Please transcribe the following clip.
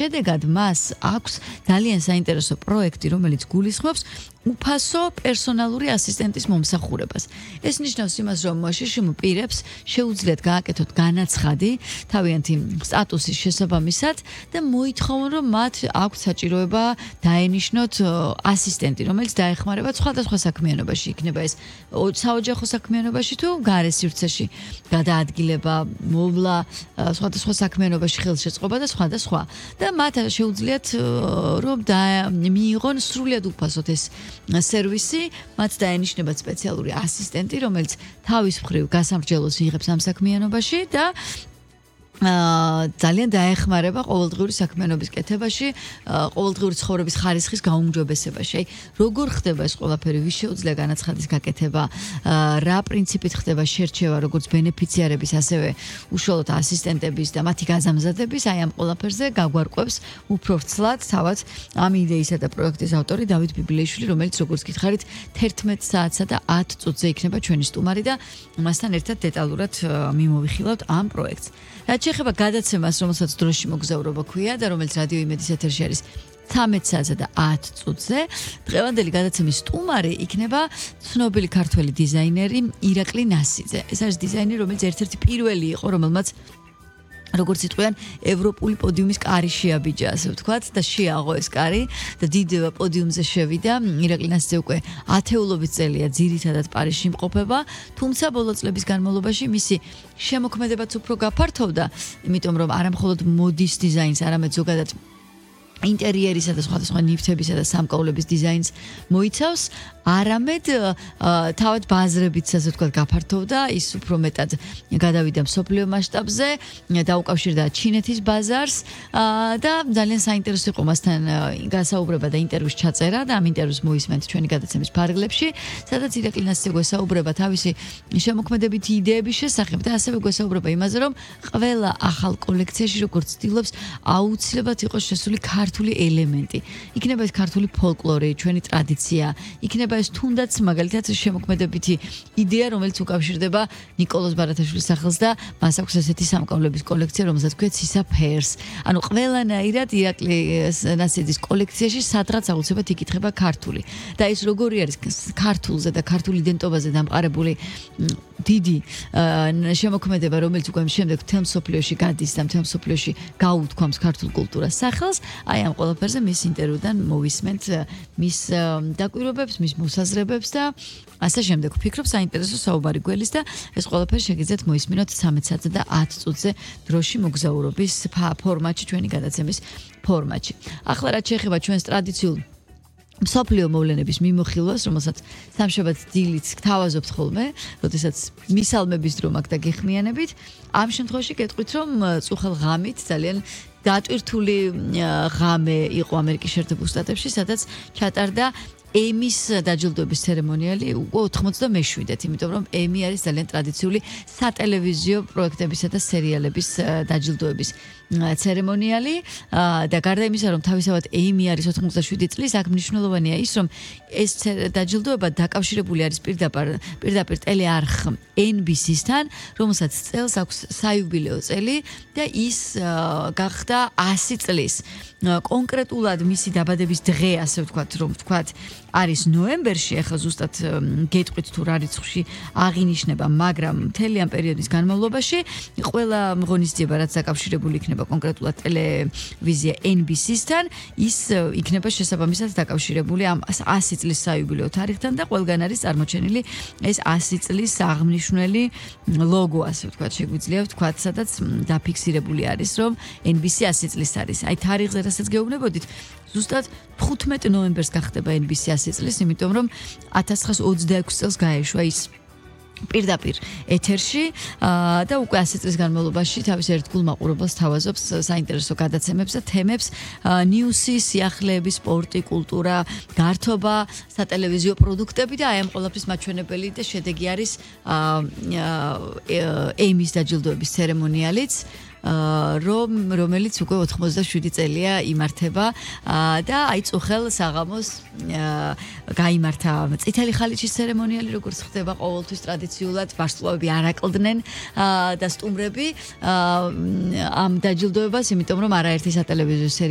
შედეგად მას აქვს ძალიან საინტერესო პროექტი, რომელიც გულისხმობს უფასო პერსონალური ასისტენტის მომსახურებას. ეს ნიშნავს იმას, რომ შიშიმ პირებს შეუძლიათ გააკეთოთ განაცხადი თავიანთი სტატუსის შესაბამისად და მოითხოვონ, რომ მათ აქვთ საჭიროება დაენიშნოთ ასისტენტი, რომელიც დაეხმარება სხვადასხვა საქმიანობაში, იქნება ეს საოჯახო საქმიანობაში თუ გარე სივრცეში გადაადგილება, მოვლა სხვადასხვა საქმიანობაში ხელშეწყობა და სხვა და სხვა. და მათ შეუძლიათ რომ მიიღონ სრულად უფასოდ ეს სერვისი, მათ დაენიშნებათ სპეციალური ასისტენტი, რომელიც თავის მხრივ გასამრჯელოს იღებს ამ საქმიანობაში და ძალიან დაეხმარება ყოველდღიური საქმიანობის კეთებაში, ყოველდღიური ცხოვრების ხარისხის გაუმჯობესებაში. აი, როგორ ხდება ეს ყველაფერი, ვის შეუძლია განაცხადის გაკეთება, რა პრინციპით ხდება შერჩევა, როგორც ბენეფიციარების, ასევე უშუალოდ ასისტენტების და მათი გაზამზადების, აი ამ ყველაფერზე გაგვარკვევს უფრო ვრცლად თავად ამ იდეისა და პროექტის ავტორი დავით ბიბლიაშვილი, რომელიც როგორც გითხარით 11 საათსა და 10 წუთზე იქნება ჩვენი სტუმარი და მასთან ერთად დეტალურად მიმოვიხილავთ ამ პროექტს. რაც შეეხება გადაცემას, რომელსაც დროში მოგზაურობა ქვია და რომელიც რადიო იმედის ეთერში არის 13 საათსა და 10 წუთზე, დღევანდელი გადაცემის სტუმარი იქნება ცნობილი ქართველი დიზაინერი ირაკლი ნასიძე. ეს არის დიზაინერი, რომელიც ერთ-ერთი პირველი იყო, რომელმაც როგორც იტყვიან, ევროპული პოდიუმის კარი შეაბიჯა, ასე ვთქვათ, და შეაღო ეს კარი და დიდ პოდიუმზე შევიდა. ირაკლი ნასიძე უკვე ათეულობით წელია ძირითადად პარიზში იმყოფება, თუმცა ბოლო წლების განმავლობაში მისი შემოქმედებაც უფრო გაფართოვდა, იმიტომ რომ არა მხოლოდ მოდის დიზაინს, არამედ ზოგადად ინტერიერისა და სხვადასხვა ნივთებისა და სამკაულების დიზაინს მოიცავს, არამედ თავად ბაზრებით, ასე ვთქვათ, გაფართოვდა, ის უფრო მეტად გადავიდა მსოფლიო მასშტაბზე, დაუკავშირდა ჩინეთის ბაზარს და ძალიან საინტერესო იყო მასთან გასაუბრება და ინტერვიუს ჩაწერა და ამ ინტერვიუს მოისმენთ ჩვენი გადაცემის ფარგლებში, სადაც ირაკლი ნასიძე გვესაუბრება თავისი შემოქმედებითი იდეების შესახებ და ასევე გვესაუბრება იმაზე, რომ ყველა ახალ კოლექციაში როგორც ცდილობს აუცილებლად იყოს შესული ქართული ელემენტი. იქნება ეს ქართული ფოლკლორი, ჩვენი ტრადიცია, იქნება ეს თუნდაც მაგალითად შემოქმედებითი იდეა, რომელიც უკავშირდება ნიკოლოზ ბარათაშვილის სახელს და მას აქვს ესეთი სამკაულების კოლექცია, რომელსაც ქვია ცისაფერს. ანუ ყველანაირად ირაკლი ნასიძის კოლექციაში სადღაც აუცილებლად იკითხება ქართული. და ეს როგორი არის ქართულზე და ქართული იდენტობაზე დამყარებული დიდი შემოქმედება, რომელიც უკვე შემდეგ მთელ მსოფლიოში გადის და მთელ მსოფლიოში გაუთქვამს ქართულ კულტურას სახელს. აი ამ ყველაფერზე მის ინტერვიუდან მოვისმენთ მის დაკვირვებებს, მის მოსაზრებებს და ასე შემდეგ. ვფიქრობ, საინტერესო საუბარი გველის და ეს ყველაფერი შეგიძლიათ მოისმინოთ 13 საათზე და 10 წუთზე დროში მოგზაურობის ფორმატში, ჩვენი გადაცემის ფორმატში. ახლა რაც შეეხება ჩვენს ტრადიციულ მსოფლიო მოვლენების მიმოხილვას, რომელსაც სამშაბათ დილით გთავაზობთ ხოლმე, როდესაც მისალმების დრო მაქვს და გეხმიანებით, ამ შემთხვევაში გეტყვით, რომ წუხელ ღამით ძალიან დატვირთული ღამე იყო ამერიკის შეერთებულ შტატებში, სადაც ჩატარდა ემის დაჯილდოების ცერემონიალი 87-ით, იმიტომ რომ ემი არის ძალიან ტრადიციული სატელევიზიო პროექტებისა და სერიალების დაჯილდოების ცერემონიალი და გარდა იმისა, რომ თავისთავად ემი არის 87 წლის, აქ მნიშვნელოვანია ის, რომ ეს დაჯილდოება დაკავშირებული არის პირდაპირ ტელეარხ NBC-სთან, რომელსაც წელს აქვს საიუბილეო წელი და ის გახდა 100 წლის. კონკრეტულად მისი დაბადების დღე, ასე ვთქვათ, რომ ვთქვათ, არის ნოემბერში, ახლა ზუსტად გეტყვით თუ რა რიცხვში აღინიშნება, მაგრამ მთელი ამ პერიოდის განმავლობაში ყველა ღონისძიება, რაც დაკავშირებული იქნება კონკრეტულად ტელევიზია NBC-სთან, ის იქნება შესაბამისად დაკავშირებული ამ 100 წლის საიუბილეო თარიღთან და ყველგან არის წარმოჩენილი ეს 100 წლის აღმნიშვნელი ლოგო, ასე ვთქვათ, შეგვიძლია ვთქვათ, სადაც დაფიქსირებული არის, რომ NBC 100 წლის არის. აი თარიღზე რასაც გეუბნებოდით, ზუსტად 15 ნოემბერს გახდება NBC 100 წლის, იმიტომ რომ 1926 წელს გაეშვა ის პირდაპირ ეთერში და უკვე 100 წლის განმავლობაში თავის ერთგულ მაყურებელს თავაზობს საინტერესო გადაცემებს და თემებს, ნიუსი, სიახლეები, სპორტი, კულტურა, გართობა, სატელევიზიო პროდუქტები და აი ამ ყველაფრის მაჩვენებელი და შედეგი არის ემის დაჯილდოების ცერემონიალიც, რომელიც უკვე 87 წელია იმართება და აი წუხელ საღამოს გაიმართა წითელი ხალიჩის ცერემონიალი, როგორც ხდება ყოველთვის ტრადიციულად, ვარსკვლავები არ აკლდნენ და სტუმრები ამ დაჯილდოებას, იმიტომ რომ არაერთი სატელევიზიო სერიალი